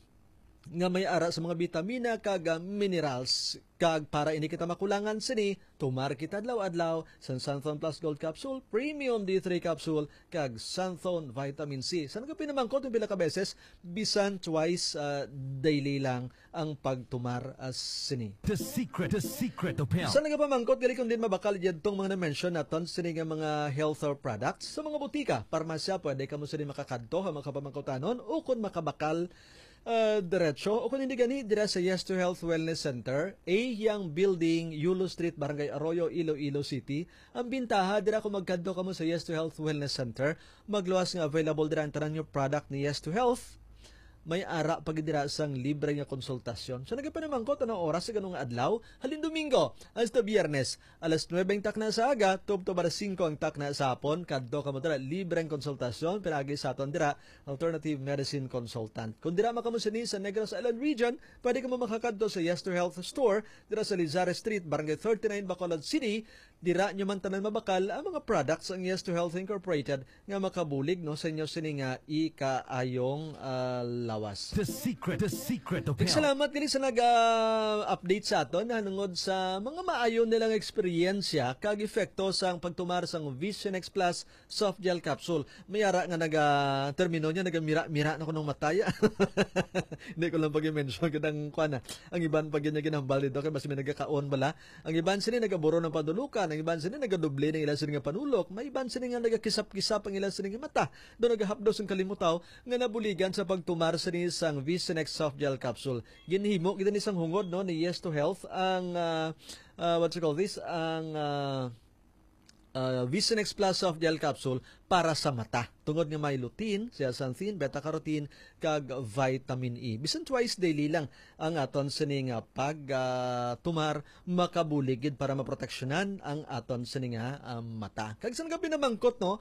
nga may ara sa mga bitamina kag, ah, minerals. Kag para hindi kita makulangan sini, tumar kita adlaw-adlaw sa Santhon Plus Gold Capsule, Premium D three Capsule, kag Santhon Vitamin C. Sa nagapinamangkot ng pila ka beses, bisan twice, ah, daily lang ang pagtumar, ah, sini. The secret, the secret of health. Sa nagapamangkot, gali kung din mabakal yadtong mga na-mention naton sini nga mga health, ah, products. Sa mga butika, parmasya, pwede kamo sini makakadto ha makapamangkotanon o kung makabakal, ah, diretso o kung hindi gani, dira sa Yes to Health Wellness Center, A Yang Building, Yulo Street, Barangay Arroyo, Iloilo City. Ang bintaha, dira kung magkadto kamo sa Yes to Health Wellness Center, magluwas nga available dira ang tanan nga product ni Yes to Health. May ara pa gid dira sang libre nga konsultasyon. So, nagapinamangkot anong oras sa ganung adlaw? Halin Domingo hasta Biyernes, alas nuebe ang takna sa aga, tubtob alas singko ang takna sa hapon. Kadto kamo dira, libre ang konsultasyon, pinaagi sa aton dira, alternative medicine consultant. Kung dira man kamo sini sa Negros Island Region, pwede kamo makakadto sa Yes to Health Store, dira sa Lizares Street, Barangay thirty-nine, Bacolod City. Dira nyo man tanan mabakal ang mga products ang Yes to Health Incorporated nga makabulig, no, sa inyo sini nga ikaayong, ah, lawas. The secret, the secret of health. Salamat gali sa nag-update sa aton nahanungod sa mga maayo nilang eksperyensya kag epekto sang pagtumar sang Vision X Plus soft gel capsule. May ara nga naga-, termino niya, nagamira-mira na ko nung mataya. Hindi ko lang pag-mention kadang kuan na. Ang iban pag yun niya ginambal dito, kay basi may nagakaon bala. Ang iban sini nagaburo ng panulukan, ang iban sini nagadoble ng ilang sini nga panulok, may iban sini nga nagakisap-kisap ang ilang sini nga mata. Do nagahapdos ang kalimutaw nga nabuligan sa pagtumar sini sang Vision X soft gel capsule. Ginhimo gid ni sang hungod, no, ni Yes to Health ang, ah, ah, what you call this, ang, ah, ah, Vision X Plus soft gel capsule para sa mata. Tungod nga may lutein, zeaxanthin, beta-carotene, kag vitamin E. Bisan twice daily lang ang aton sini nga pag, ah, tumar, makabulig gid para maproteksyonan ang aton sini nga, ah, mata. Kag sa nagapinamangkot, no,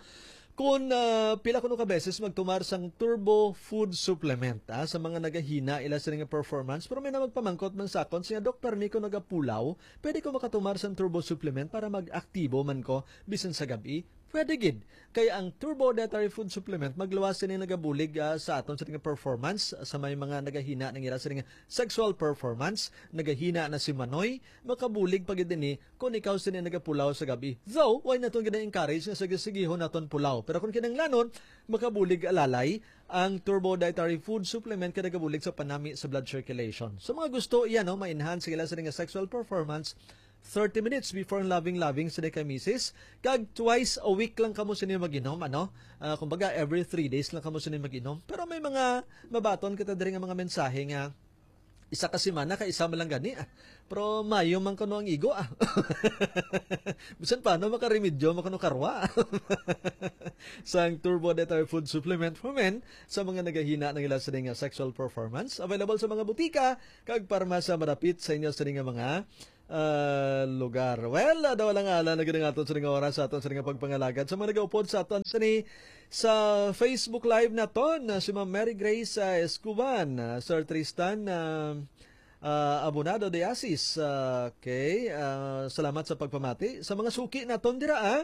kung, ah, pila kuno ka beses magtumar sang Turbo Food Supplement, ah, sa mga nagahina ila sini nga performance, pero may na magpamangkot man sa akon, siya, "Doc, permi ko nagapulaw, pwede ko makatumar sang Turbo Supplement para mag-aktibo man ko bisan sa gab-i?" Pwede gid. Kay ang Turbo Dietary Food Supplement magluwas sini nagabulig, ah, sa aton sa nga performance sa may mga nagahina ng ira sa nga sexual performance, nagahina na si manoy, makabulig pa gid ini kung ikaw sini nagapulaw sa gabi. Though, why naton gina-encourage nga sige-sigihon naton pulaw? Pero kung kinahanglanon, makabulig alalay ang Turbo Dietary Food Supplement kay nagabulig sa panami sa blood circulation. So mga gusto iya, no, ma-enhance sila sa nga sexual performance, thirty minutes before ang loving-loving sini kay misis, kag twice a week lang kamo sini mag-inom, ano? Ah, kumbaga, every three days lang kamo sini mag-inom. Pero may mga mabaton kita diri nga mga mensahe nga isa ka semana kay isa man lang gani, ah. Pero mayo man kuno ang igo, ah. Bisan paano makaremedyo, makuno karwa. Sang Turbo Dietary Food Supplement for Men sa mga nagahina ng ila sini nga sexual performance. Available sa mga butika kag parmasya madapit sa inyo sini nga mga ah, lugar. Well, ah, daw lang ala na gid ang aton sa nga oras, sa aton sa nga pagpangalagad. Sa mga nagaupod sa aton sini sa Facebook Live naton, ah, si Ma'am Mary Grace, ah, Escuban, ah, Sir Tristan, ah, ah, Abonado de Asis. Ah, okay, ah, salamat sa pagpamati. Sa mga suki naton dira, ah,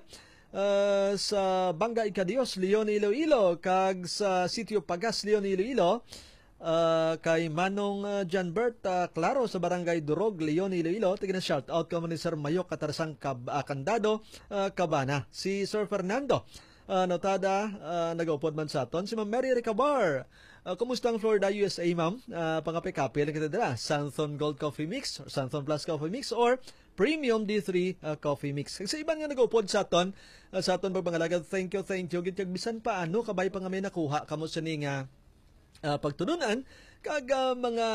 ah, sa Banga Ikadios, Leon, Iloilo, kag sa Sitio Pagas, Leon, Iloilo, ah, kay Manong, ah, Janbert, ah, Claro sa Barangay Durog, Leon, Iloilo. Tigna shout out kamo ni Sir Mayok Katarsang Kab-, ah, Candado, ah, Cabana. Si Sir Fernando, ah, Notada, ah, nagaupod man sa aton. Si Ma'am Mary Recabar. Ah, kumusta ang Florida, U S A, ma'am? Ah, pangapikapi lang kita dira. Santhon Gold Coffee Mix, Santhon Plus Coffee Mix, or Premium D three, ah, Coffee Mix. Kag sa iban nga nagaupod sa aton, ah, sa aton pagpangalagad, thank you, thank you. Gid kag bisan paano, kabay pa nga may nakuha kamo sini nga ah, pagtulun-an kag, ah, mga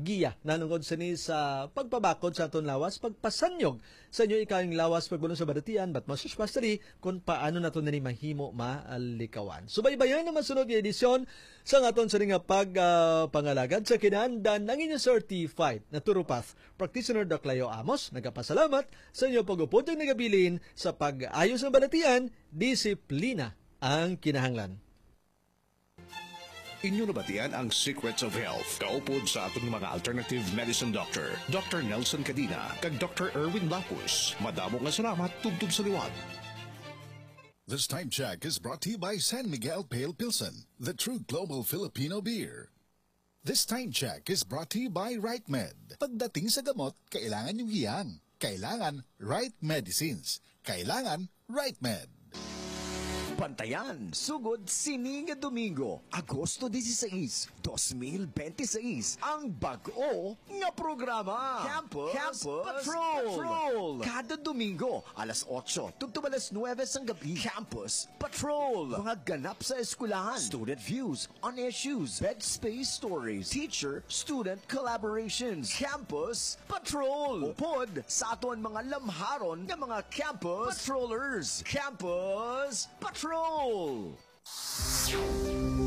giya nanungod sini sa pagpabakod sa aton lawas, pagpasanyog sa inyo ikayong lawas, pagbulong sa balatian, but most especially kung paano nato nini mahimo malikawan. Subaybayan ang masunod nga edisyon sa aton sini nga pag, ah, pangalagad. Sa kinahanglan, ang inyo certified naturopath practitioner, Doc Leo Amos, nagapasalamat sa inyo pag-upod ug nagabilin sa pag-ayo sa balatian, disiplina ang kinahanglan. Inyo nabatian ang Secrets of Health, kaupod sa aton mga alternative medicine doctor, Doctor Nelson Cadena kag Doctor Erwin Lapus. Madamo nga salamat, tubtob sa liwat. This time check is brought to you by San Miguel Pale Pilsen, the true global Filipino beer. This time check is brought to you by RightMed. Pagdating sa gamot, kailangan yung hiyang. Kailangan right medicines. Kailangan RightMed. Bantayan, sugod sini nga Domingo, Agosto dieciséis, dos mil bente seis, ang bag-o nga programa, Campus, Campus Patrol. Patrol. Kada Domingo, alas otso tubtob alas nuebe sang gabi, Campus Patrol. Mga ganap sa eskwelahan, student views on issues, bed space stories, teacher-student collaborations, Campus Patrol. Upod sa aton mga lamharon nga mga Campus Patrollers. Campus Patrol.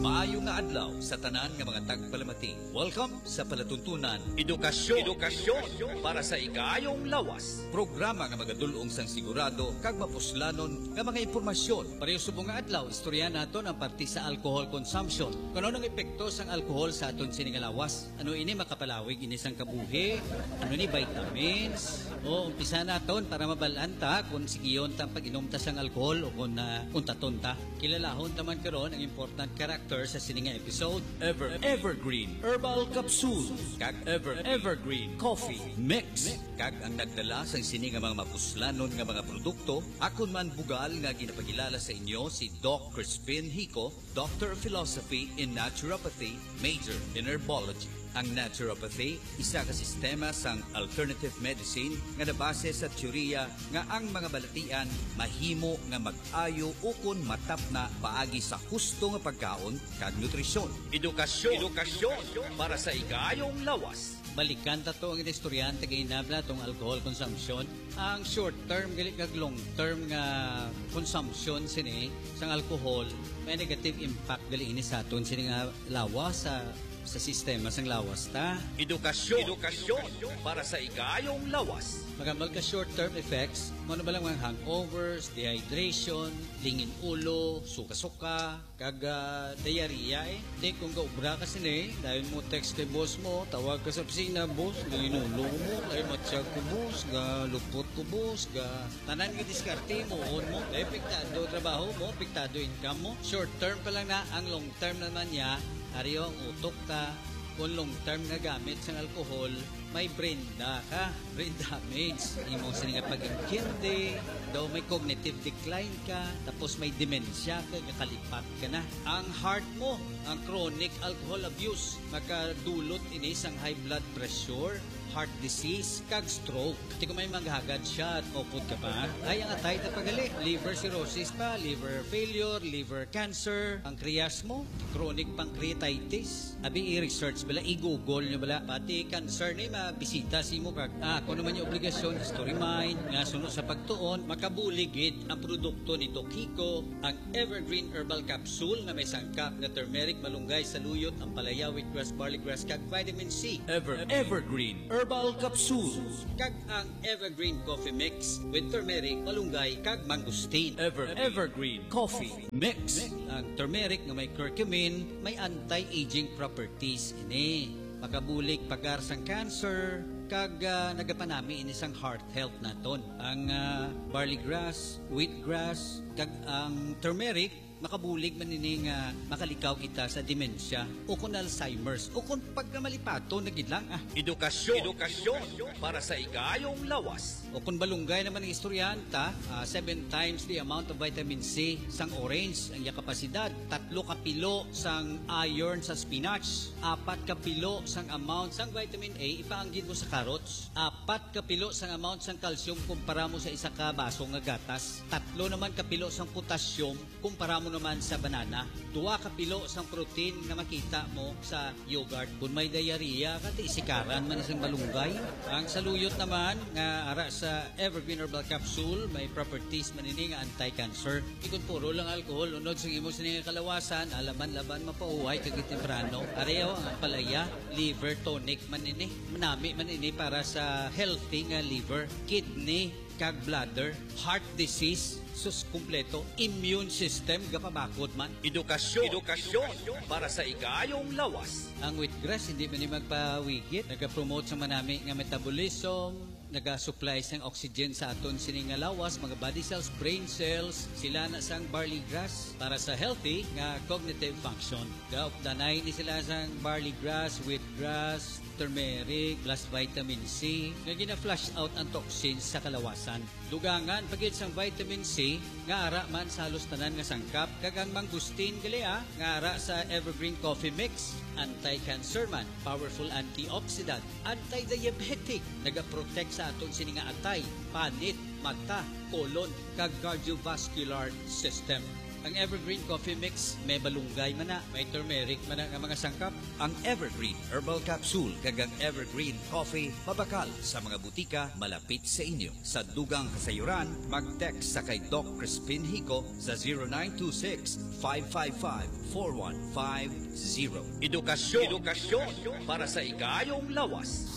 Maayo nga adlaw sa tanan nga mga tagpalamati. Welcome sa palatuntunan Edukasyon, Edukasyon para sa Igayong Lawas. Programa nga magadul-ong sang sigurado kag mapuslanon nga mga impormasyon. Pareho subong nga adlaw, istorya naton ang parte sa alcohol consumption. Kung ano ang epekto sang alcohol sa aton sini nga lawas? Ano ini makapalawig ini sang kabuhi? Ano ni vitamins? O, umpisa naton para mabal-an ta kung sigiyon ta ang pag-inom ta sang alcohol o kung, ah, untaton ta. Kilalahon ta man karon ang important character sa sini nga episode, Ever Evergreen Herbal Capsule kag Ever Evergreen Coffee Mix, kag ang nagdala sang sini nga mga mapuslanon nga mga produkto, akon man bugal nga ginapakilala sa inyo si Doc Crispin Hico, Doctor of Philosophy in Naturopathy, major in Herbology. Ang naturopathy, isa ka sistema sang alternative medicine nga nabase sa teorya nga ang mga balatian mahimo nga mag-ayo ukon matapna paagi sa husto nga pagkaon kag nutrisyon. Edukasyon, Edukasyon para sa igayong lawas. Balikan ta to ang istoryahan ta gahinabla tong alcohol consumption. Ang short term gali kag long term nga consumption sini sang alcohol may negative impact gali ini sa aton sini nga lawas, sa, sa sistema sang lawas ta. Edukasyon, Edukasyon para sa igayong lawas. Magambal ka short term effects, mo na ba lang mga hangovers, dehydration, lingin ulo, suka-suka, kag, ah, diarrhea, eh. Di kung gaobra ka sini, dayon mo text kay boss mo, tawag ka sa opisina, "Boss, lingin ulo ko, boss, ay matsyag ko, boss, ga lupot ko, boss, ga tanan nga diskarte mo, on mo, kay apektado trabaho mo, apektado income mo." Short term pa lang na, ang long term naman niya, ari ang utok ta, kung long term nga gamit sang alcohol, may brain da ka, brain damage. Imo sini nga pag-intindi, daw may cognitive decline ka, tapos may dementia ka, kakalipat ka na. Ang heart mo, ang chronic alcohol abuse, makadulot ini sang high blood pressure, heart disease, kag stroke. Ti kung may maghagad siya at maupod ka pa, ay ang atay ta pagali, liver cirrhosis pa, liver failure, liver cancer, pancreas mo, chronic pancreatitis. Abi, i-research bala, i-google nyo bala. Pati cancer ni mabisita sa imo kag, ah, kung naman yung obligasyon, history mind, nga suno sa pagtuon, makabulig gid ang produkto ni Doc Hico, ang Evergreen Herbal Capsule nga may sangkap nga turmeric, malunggay, saluyot, ampalaya, wheatgrass, barley grass, kag vitamin C. Ever, Evergreen Herbal Capsule. Kag ang Evergreen Coffee Mix with turmeric, malunggay, kag mangosteen. Ever, Evergreen Coffee Mix. Ang turmeric nga may curcumin, may anti-aging properties ini. Makabulig pagar sang cancer, kag, ah, nagapanami ini sang heart health naton. Ang, ah, barley grass, wheat grass, kag ang turmeric, makabulig man ini nga makalikaw kita sa dementia o kon Alzheimer's o kon pagkamalipaton na gid lang, ah. Edukasyon, Edukasyon para sa igayong lawas. O kon malunggay naman ang istoryahan ta, ah, seven times the amount of vitamin C sang orange ang iya kapasidad, tatlo ka pilo sang iron sa spinach, apat ka pilo sang amount sang vitamin A ipaanggid mo sa carrots, apat ka pilo sang amount sang calcium kumpara mo sa isa ka baso nga gatas, tatlo naman ka pilo sang potassium kumpara mo naman sa banana, duha ka pilo sang protein nga makita mo sa yogurt. Kung may diarrhea ka, ti sikaran man sang malunggay. Ang saluyot naman nga ara sa Evergreen Herbal Capsule, may properties man ini nga anti-cancer. Ikon puro lang alcohol, unod sa imo sini nga kalawasan, alaman laban mapauhay kag temprano. Areho ang ampalaya, liver tonic man ini. Manami man ini para sa healthy nga liver, kidney, kag bladder, heart disease, sus, kompleto, immune system, gapabakod man. Edukasyon, Edukasyon para sa igayong lawas. Ang wheatgrass, hindi man ni magpawigit. Nagapromote sa manami nga metabolism, Nagasupply sang oxygen sa aton sini nga lawas, mga body cells, brain cells, sila na sang barley grass para sa healthy nga cognitive function. Gaupdanay ni sila sang barley grass, wheatgrass, turmeric, plus vitamin C nga gina-flush out ang toxins sa kalawasan. Dugangan pa gid sang vitamin C nga ara man sa halos tanan nga sangkap, kag ang mangosteen gali, ah, nga ara sa Evergreen Coffee Mix, anti-cancer man, powerful antioxidant, anti-diabetic, nagaprotect sa aton sini nga atay, panit, mata, colon, kag cardiovascular system. Ang Evergreen Coffee Mix may malunggay man na, may turmeric man na nga mga sangkap. Ang Evergreen Herbal Capsule kag ang Evergreen Coffee mabakal sa mga butika malapit sa inyo. Sa dugang kasayuran, mag-text sa kay Doc Crispin Hico sa zero nine two six, five five five, four one five zero. Edukasyon, edukasyon para sa ikayong lawas.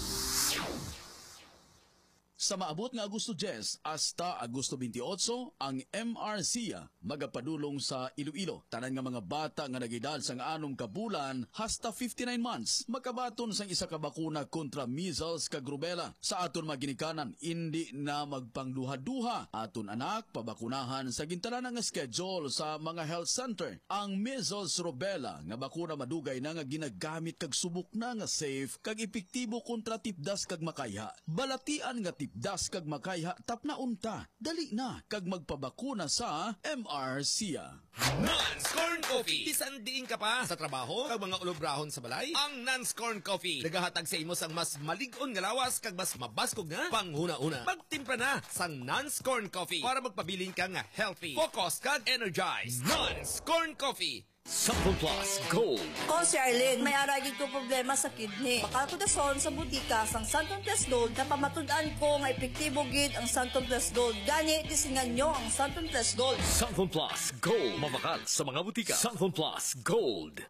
Sa maabot nga Agosto diyes hasta Agosto twenty-eight, ang M R C magapadulong sa Iloilo. Tanan nga mga bata nga nag-edad sang anom ka bulan hasta fifty-nine months makabaton sang isa ka bakuna kontra measles kag rubella. Sa aton mga ginikanan, indi na magpangduha-duha. Aton anak pabakunahan sa gintanan nga schedule sa mga health center. Ang measles rubella nga bakuna madugay na nga ginagamit kag subok na nga safe kag epektibo kontra tipdas kag makayha. Balatian nga tipdas kag makayha, tapnaon ta. Dali na kag magpabakuna sa M R C. Nan's Corn Coffee. Bisan diin ka pa, sa trabaho, kag mga ulobrahon sa balay, ang Nan's Corn Coffee nagahatag sa imo sang mas malig-on nga lawas kag mas mabaskog nga panghunahuna. Magtimpla na sang Nan's Corn Coffee para magpabilin ka nga healthy, focus, kag energized. Nan's Corn Coffee. Santon Plus Gold. Ko si Arlene, may ara gid ko problema sa kidney. Bakal ko dason sa butika sang Santon Plus Gold, napamatud-an ko nga epektibo gid ang Santon Plus Gold. Gani, tisingan nyo ang Santon Plus Gold. Santon Plus Gold. Mabakal sa mga butika. Santon Plus Gold.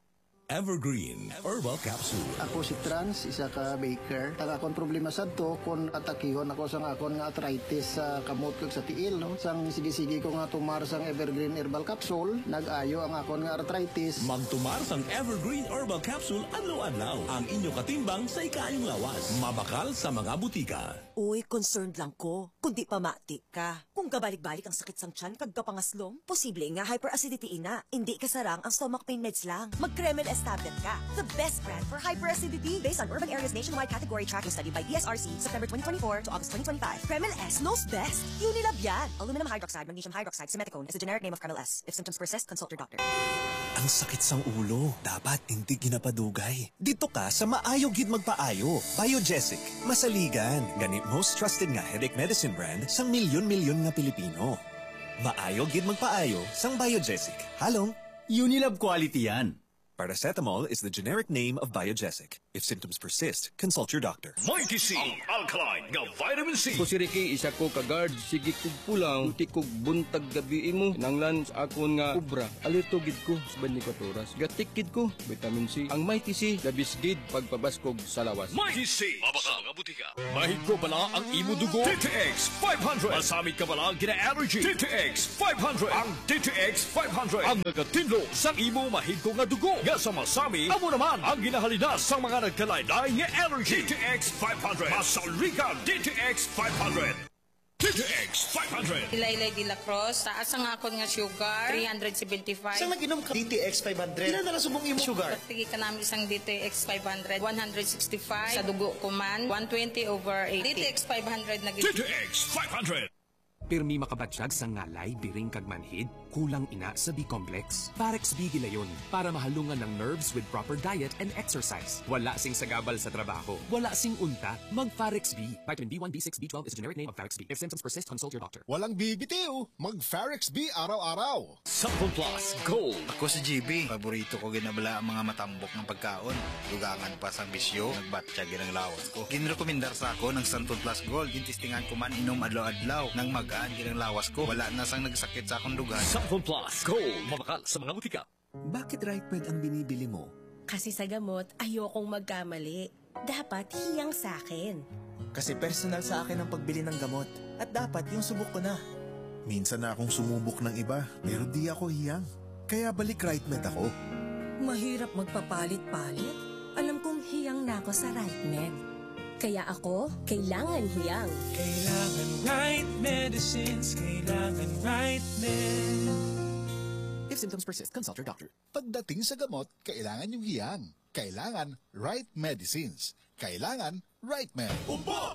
Evergreen Herbal Capsule. Ako si Trans, isa ka baker. Ang akon problema sadto kon atakihon ako sang akon nga arthritis sa kamot kag sa tiil, no? Sang sige-sige ko nga tumar sang Evergreen Herbal Capsule, nag-ayo ang akon nga arthritis. Magtumar sang Evergreen Herbal Capsule adlaw-adlaw. Ang inyo katimbang sa ikaayong lawas. Mabakal sa mga butika. Uy, concerned lang ko. Kung di pamati ka. Kung gabalik-balik ang sakit sang tiyan kag kapangaslom, posible nga hyperacidity ina. Indi kasarang ang stomach pain meds lang. Mag Kremel S tablet ka. The best brand for hyperacidity. Based on urban areas nationwide category tracking study by D S R C, September twenty twenty-four to August twenty twenty-five. Kremel S knows best. Unilab yan. Aluminum hydroxide, magnesium hydroxide, simeticone is the generic name of Kremel S. If symptoms persist, consult your doctor. Ang sakit sang ulo, dapat indi ginapadugay. Dito ka sa maayo gid magpaayo. Biogesic, masaligan. Gani most trusted nga headache medicine brand sang milyon-milyon nga Pilipino. Maayo gid magpaayo sang Biogesic. Halong Unilab quality yan. Paracetamol is the generic name of Biogesic. If symptoms persist, consult your doctor. Mighty C, ang alkaline nga vitamin C. Ako si Ricky, isa ko ka guard. Sige kog pulang, buti kog buntag gabi imo. Kinahanglan sa akon nga obra. Alerto gid ko sa twenty-four oras. Gatik gid ko, vitamin C. Ang Mighty C, the best gid pagpabaskog sa lawas. Mighty C, mabakal nga butika. Mahigko bala ang imo dugo? D T X five hundred. Masamit ka bala gina-allergy? D T X five hundred. Ang D T X five hundred ang nagatinlo sang imo mahigko nga dugo nga sa masamit. Amo naman ang ginahalinas sang mga nagkalain-lain nga allergy. D T X five hundred. Masaligan, D T X five hundred. D T X five hundred. Ilaylay de la Cruz, taas ang akon nga sugar, three hundred seventy-five. Sa nag-inom ka D T X five hundred, pila na lang subong imong sugar? Sige ka namin isang D T X five hundred, one hundred sixty-five. Sa dugo ko man, one twenty over eighty. D T X five hundred na gid. D T X five hundred. Pirmi makabatyag sa ngalay, biring kag manhid, kulang ina sa B-complex. Parex B gilayon para mahalungan ang nerves with proper diet and exercise. Wala sing sagabal sa trabaho, wala sing unta, mag Parex B. Vitamin B one, B six, B twelve is a generic name of Parex B. If symptoms persist, consult your doctor. Walang bibitiw, mag Parex B araw-araw. Santon Plus Gold. Ako si G B. Paborito ko gid na bala ang mga matambok nga pagkaon. Dugangan pa sang bisyo, nagbatyag gid ang lawas ko. Ginrekomendar sa akon ang Santon Plus Gold. Gintistingan ko man inom adlaw-adlaw. Nang magaan gid ang lawas ko, wala na sang nagsakit sa akon dugan. Santon Plus Gold. Mabakal sa mga butika. Bakit Right Med ang binibili mo? Kasi sa gamot, ayokong magkamali. Dapat hiyang sa akin. Kasi personal sa akin ang pagbili ng gamot. At dapat yung subok ko na. Minsan na akong sumubok ng iba, pero di ako hiyang. Kaya balik Right Med ako. Mahirap magpapalit-palit. Alam kong hiyang na ako sa Right Med. Kaya ako, kailangan hiyang. Kailangan right medicines, kailangan right med. If symptoms persist, consult your doctor. Pagdating sa gamot, kailangan yung hiyang. Kailangan right medicines. Kailangan right med. Upo!